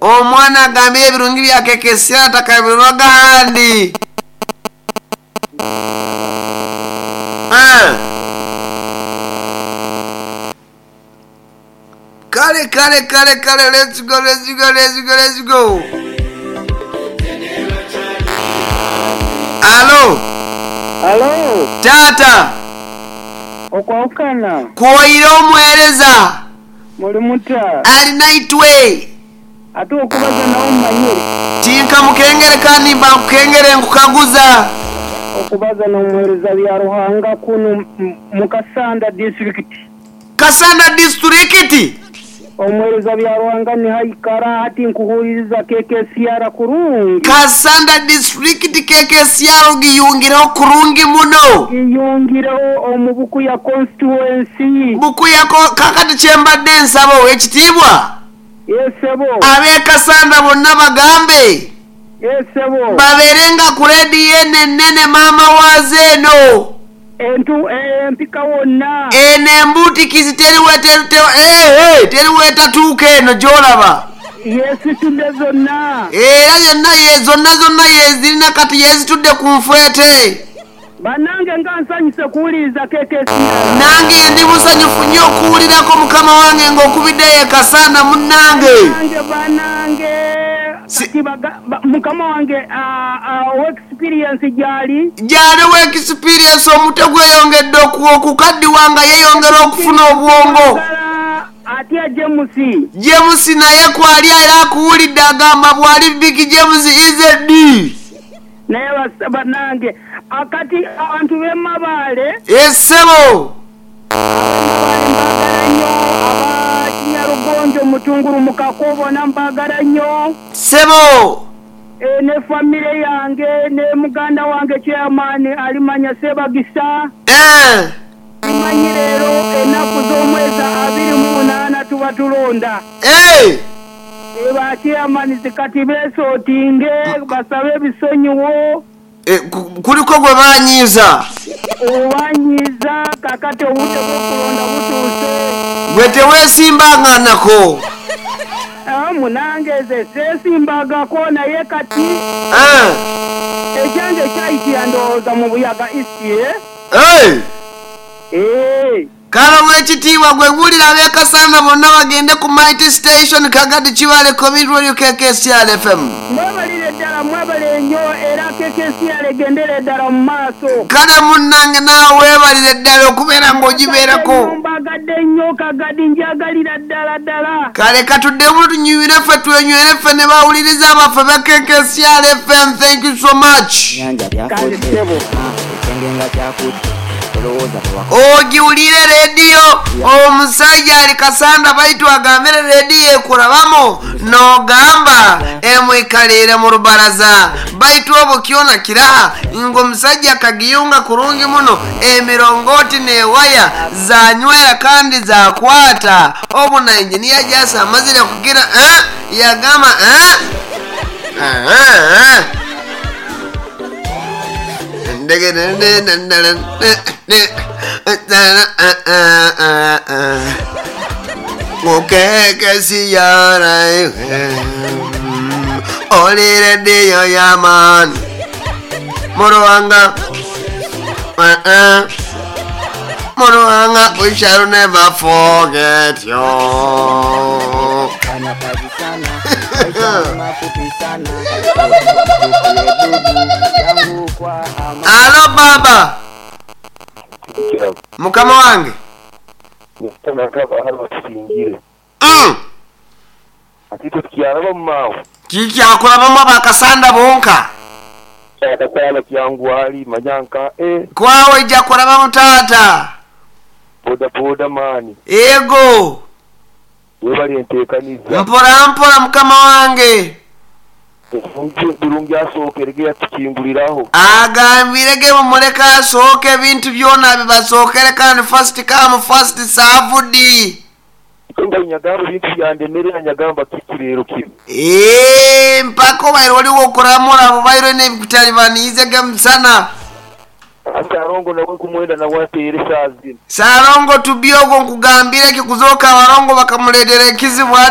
Omwana agambire ebirungi bya KKCR atakabirwaga ahandi. Ah. Kale kale kale kale, let's go, let's go, let's go, let's go. Alo. Alo. Taata. Okwawukana. Kwoire omuweereza. Muli muta? Ali naitwe. Ate okubaza nawe omumanyire? Tinka mukengere kandi mba nkukengere nkukaguza. Okubaza n'omuheereza Byaruhanga kunu mu Kasanda disiturikiti. Kasanda disiturikiti? Omuheereza Byaruhanga niho aikara hati nkuhuuliriza KKCR kurungi. Kasanda disiturikiti KKCR ogiyungireho kurungi muno. Giyungireho omu Bukuya constituency. Bukuya kakati kyembadde nsaba ow'ekitiibwa. Yes sebo. Ab'e Kasanda bonna bagambe. Yes sebo. Babeere nga ku leediyo eno ennene maama waazo eno. Entu empika wonna. Eno embuutikizi teri teri wetatuuka eno gy'olaba. Yeesitudde zonna. Era yonna ye zonna zonna yeezirina kati yeezitudde ku nfwete. Banange nga nsanyuse kuwuliriza KKCR. Nange ndi musanyufu nnyo okuwulirako mukama wange ng'okubiddeyo e Kasanda munnange. Banange banange kati mukama wange owa experience gyali. Gyali owa experience omutwe gweyongedde okukaddiwa nga yeyongera okufuna obwongo. Atya James. James naye kwali era akuwulidde agamba bwali Big James is D. Naye banange kati abantu be Mabaale. Eeh ssebo. Abe Mabaale mbagala nnyo, aba Kinyarugonjo, Mutunguru, Mukako bona mbagala nnyo. Ssebo. Eeh ne family yange ne muganda wange chairman alimanya Sebagisa. Eeh. Tumanyi leero enaku z'omwezi 28 tuba tulonda. Eeh. Ba chairmans kati besotinge basabe ebisonyiwo. Kuliko gwe banyiiza? Obanyiiza kakati obudde bw'okulonda butuuse. Gwe tewesimbanganako? Munange nze sesimbagako naye kati ekyange kyayitira ndowooza mu Buyaga East. Eeh. Kale owekitiibwa gwe buulira ab'e Kasanda bonna bagende ku Mighty Station Kagadi Kibaale Community Radio KKCR FM. Mwebalire ddala mwebale nnyo era KKCR egendere ddala mu maaso. Kale munnange naawe weebalire ddala okubeera ng'ogibeerako. Mbagadde nnyo Kagadi njagalira ddala ddala. Kale katuddemu tunyumire ffe twenywere ffe ne bawuliriza baffe ba KKCR FM thank you so much. Kale ssebo. Ogiwulire leediyo omusajja ali Kasanda baitu agambire leediyo ekurabamu nogamba emwikaliire mu rubaraza baitu obu kyona kiraha ngu omusajja akagiyunga kurungi muno emirongooti n'ewaya zanywera kandi zakwata obu na engineer Jasi amazire kugira eh yagamba eh eh Oli rediyo y'amaani Muruhanga Muruhanga we shall never forget you. Alo baba. Mukama wange. Kikyakurabamu abakasanda bonka. Kwawe ija kurabamu taata. Ego. Mpora mpora mukama wange. Agambire ge mumuleke asooke ebintu byona bibasookere kandi first come first served. Eeh mpaka obaire oligho okuramura obaire olina ebikutalibaniize ge musana. Ssalongo Tubbi ogwo nkugambire ki kuzooka abalongo bakamuleetera ekizibu ati.